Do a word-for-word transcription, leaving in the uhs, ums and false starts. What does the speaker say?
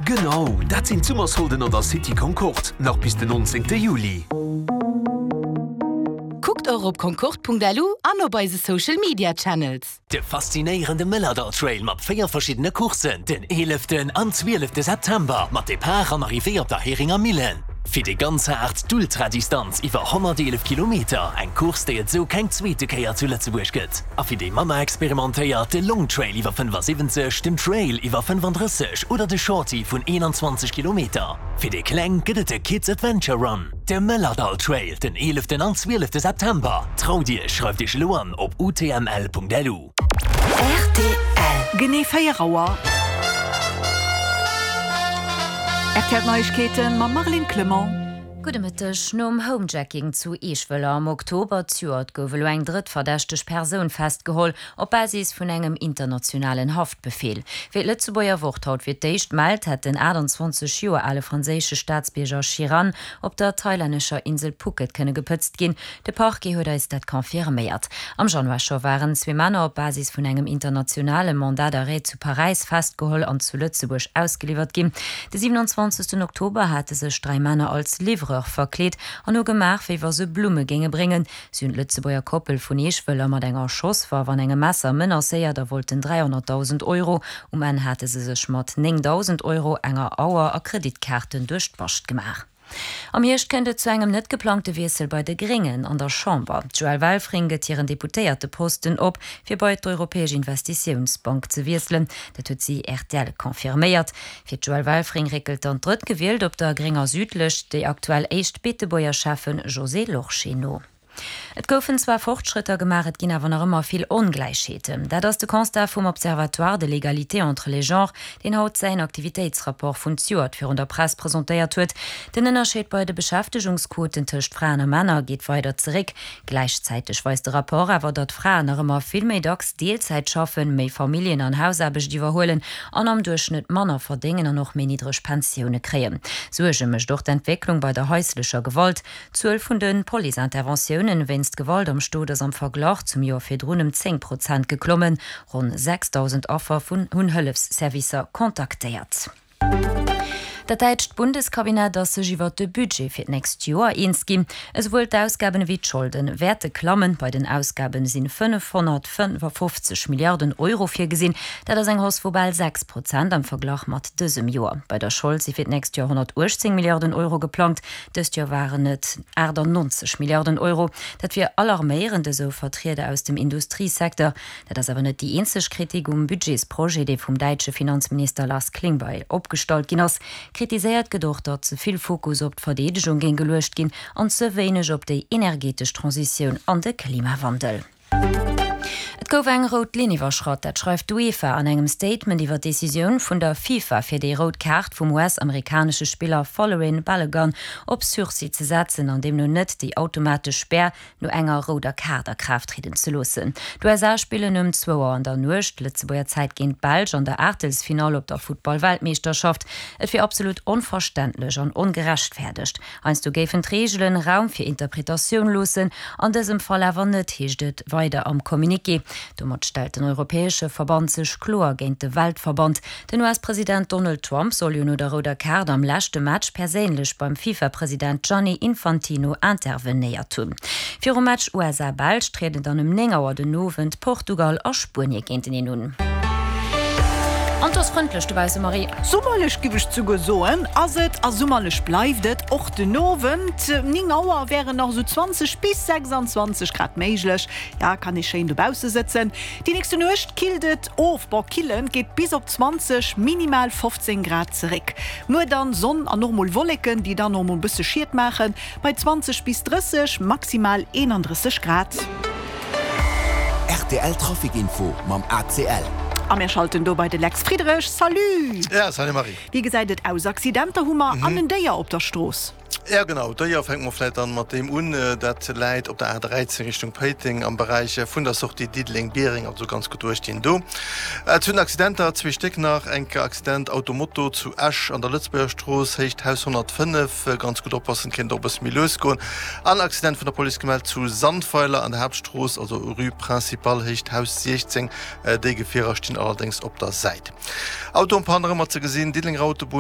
Genau, dat sinn d'Summersolden an der City Concorde, nach bis den nonzéngte Juli. Kuckt och op concorde.lu an op eise Social Media Channels. De faszinéierende Mëllerdall Trail mat véier verschiddene Courssen den eeleften an zwielefte September mat Depart an Arrivée op der Heringer Millen. Fir déi ganz Haart d'Ultradistanz iwwer honnerteelef Kilometer, eng Course déi et sou keng zweete Kéier zu Lëtzebuerg gëtt. A fir déi manner experimentéiert de Long Trail iwwer fënnefasiwwenzeg, den Trail iwwer fënnefandrësseg oder de Shorty vun eenanzwanzeg Kilometer. Fir déi Kleng gëtt et de Kids Adventure Run. De Mëllerdall Trail den eeleften an zwielefte September. Traut Iech, schreift Iech elo an op utml.lu. Rtl. Genee véier Auer. R T L Neiegkeeten mam Marlene Clement. Gudde Mëtteg. Nom Homejacking zu Eeschwëller am Oktober zejoert gouf elo eng drëtt verdächteg Persoun festgeholl, op Basis vun engem internationalen Haftbefeel. Wéi d'Lëtzebuerger Wort haut fir d'éischt mellt, hätt den aachtanzwanzeg Joer ale franséische Staatsbierger Chiran op der thailännescher Insel Phuket kënne gepëtzt ginn. De Parquet huet eis dat confirméiert. Am Januar scho waren zwee Männer op Basis vun engem internationale Mandat d'arrêt zu Paräis festgeholl an zu Lëtzebuerg ausgeliwwert ginn. De siewenundzwanzegsten Oktober hate sech dräi Männer als Livreur verkleet an hu gemaach, wéi wa se Blumme géinge bréngen. Si hunn d'Lëtzebuerger Koppel vun Eeschwëller mat enger Schosswaff an engem Messer menacéiert a wollten dräihonnertdausend Euro. Um Enn hate se sech mat néngdausend Euro, enger Auer a Kreditkaarten duerch d'Bascht gemaach. Am Hierscht kënnt et zu engem net geplangte Wiessel bei de Gréngen an der Chamber. D'Joëlle Welfring gëtt hiren Deputéierteposten op, fir bei d'Europäesch Investitiounsbank ze wiesselen. Dat huet si R T L confirméiert. Fir d'Joëlle Welfring réckelt dann d'Drëttgewielt op der grénger Südlëscht, déi aktuell éischt Beetebuerger Schäffen Josée Lorsché no. Et goufen zwar Fortschrëtter gemaach, et ginn awer nach ëmmer vill Ongläichheeten. Dat ass de Constat vum Observatoire de l'égalité entre les genres, deen haut säin Aktivitéitsrapport vun zejoert virun der Press presentéiert huet. Den Ënnerscheed bei de Beschäftegungsquoten tëscht Fraen a Männer geet weider zeréck. Gläichzäiteg weist de Rapport awer, datt Fraen nach ëmmer vill méi dacks Deelzäit schaffen, méi Familljen an Hausaarbecht iwwerhuelen an am Duerchschnëtt manner verdéngen an och méi niddreg Pensioune kréien. Suerge mécht och d'Entwécklung bei der haislecher Gewalt. D'Zuel vun de Police-Interventiounen wéinst Gewalt am Stot ass am Verglach zum Joer virdrun ëm zéng Prozent geklommen. Ronn sechsdausend Affer vun hunn Hëllefsservicer kontaktéiert. Dat däitscht Bundeskabinett ass sech iwwert de Budget fir d'nächst Joer eens ginn. Esouwuel d'Ausgaben ewéi d'Scholde wäerte klammen. Bei den Ausgaben si fënnefhonnertfënnefafofzeg Milliarden Euro virgesinn. Dat ass eng Hausse vu bal sechs Prozent am Verglach mat dësem Joer. Bei der Schold si fir d'nächst Joer honnertuechtzéng Milliarden Euro geplangt. Dëst Joer waren et aachtannonzeg Milliarden Euro. Dat wier alarméierend, esou Vertrieder aus dem Industriesecteur. Dat ass awer net déi eenzeg Kritik um Budgetsprojet, dee vum däitsche Finanzminister Lars Klingbeil opgestallt ginn ass. Kritiséiert gëtt och, datt ze vill Fokus op d'Verdeedegung géing geluecht ginn an ze wéineg op déi energetesch Transitioun an de Klimawandel. Et gouf eng rout Linn iwwerschratt, dat schreift d'UEFA an engem Statement iwwer d'Decisioun vun der FIFA, fir déi rout Kaart vum U S-amerikanesche Spiller Folarin Balogun op Sursis ze setzen an deemno net déi automatesch Spär no enger rouder Kaart a Kraaft trieden ze loossen. D'U S A spillen ëm zwou Auer an der Nuecht Lëtzebuerger Zäit géint d'Belsch an der Aachtelsfinall op der Futtball-Weltmeeschterschaft. Et wier absolut onverständlech an ongerechtfäerdegt. Heiansdo géifen d'Reegelen Raum fir Interpretatioun loossen, an dësem Fall awer net, heescht et weider am Communiqué. Domat stellt den europäesche Verband sech kloer géint de Weltverband. Den U S-President Donald Trump soll jo no der rouder Kaart am leschte Match perséinlech beim FIFA-President Gianni Infantino intervenéiert hunn. Virum Match U S A-Belsch trieden dann ëm néng Auer den Owend Portugal a Spuenie géinteneen un. An et ass frëndlech dobausse, Marie. Summerlech giff ech souguer soen ass et, a summerlech bleift et och den Owend. Néng Auer wären nach esou zwanzeg bis sechsanzwanzeg Grad méiglech, ja kann ee schéin dobausse sëtzen. Déi nächste Nuecht killt et of, bon killen geet bis op zwanzeg, minimal fofzéng Grad zeréck. Muer dann Sonn an och mol Wolleken, déi dann och mol bësse Schiet maachen, bei zwanzeg bis drësseg, maximal eenandrësseg Grad. R T L Trafic Info mam A C L. A mir schalten do bei de Lex Friedrich. Salut! Ja, salut Marie. Wéi gesäit et aus? Accidenter hu mer an en Déier op der Strooss. Ja genau, Déier fänke mer vläit dann mat deem un. Dat läit op der A dräizéng Richtung Péiteng am Beräich vun der Sortie Diddeleng-Biereng, also ganz gutt duerchginn do. Zu den Accidenter, zwee Stéck nach, enk Accident Auto-Moto zu Esch an der Lëtzebuerger Strooss, Héicht Haus honnertfënnef, ganz gutt oppassen, kéint och e bësse méi lues goen. An Accident vun der Police gemellt zu Sandweiler an der Haaptstrooss, also Rue Principale, Héicht Haus siechzéng, déi Gefierer stinn allerdéngs op der Säit. Auto en panne nach ëmmer ze gesinn, Diddelenger Autobunn.